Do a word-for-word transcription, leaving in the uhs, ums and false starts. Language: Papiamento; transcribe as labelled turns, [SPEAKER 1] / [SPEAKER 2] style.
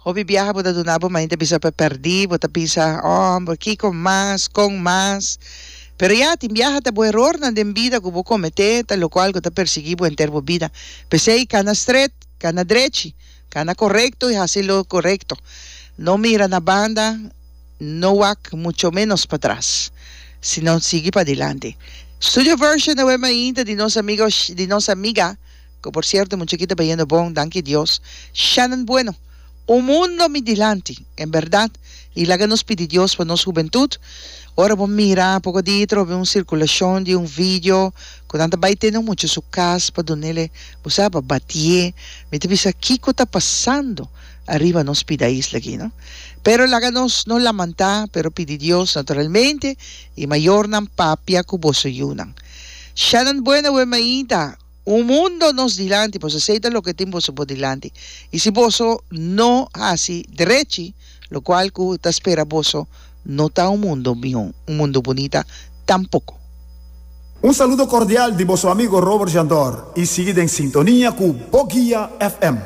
[SPEAKER 1] Hopi biaha bo ta duna bo mainta bisa pa pèrdí, bo ta bisa, oh, kiko mas, kon mas. Pero ya, tin biaha ta bo erornan den bida ku bo kometé, ta lokual ku ta persiguí bo henter bo bida. P'esei, kana stret, kana drechi, kana korekto i hasi lo korekto. No mira na banda, no wak mucho menos patras, sino sigui padilanti. Studio version awe mainta di nos amigo, di nos amiga, ku por sierto mucha aki ta bayendo bon, danki Dios, Shannon Bueno. Un mundo mi dilanti, en bèrdat, i laga nos pidi Dios pa nos hubentut. Ora bo mira poko dia trobe un sirkulashon di un video ku nan ta bai tene un mucha su kas pa dunele, bo sa, pa batié. Mi ta bisa kiko ta pasando ariba nos pida isla aki, no? Pero laga nos no lamantá, pero pidi Dios naturalmente i mayornan papia ku boso yunan. Shannon Bueno awe mainta. Un mundo nos dilanti, boso esei ta loke tin boso bo dilanti. I si boso no hasi drechi, lokual ku ta spera boso no ta un mundo mihó, un mundo bunita tampoko.
[SPEAKER 2] Un saludo kordial di boso amigo Robert Jandor i sigui den sintonia ku Bo Guia F M.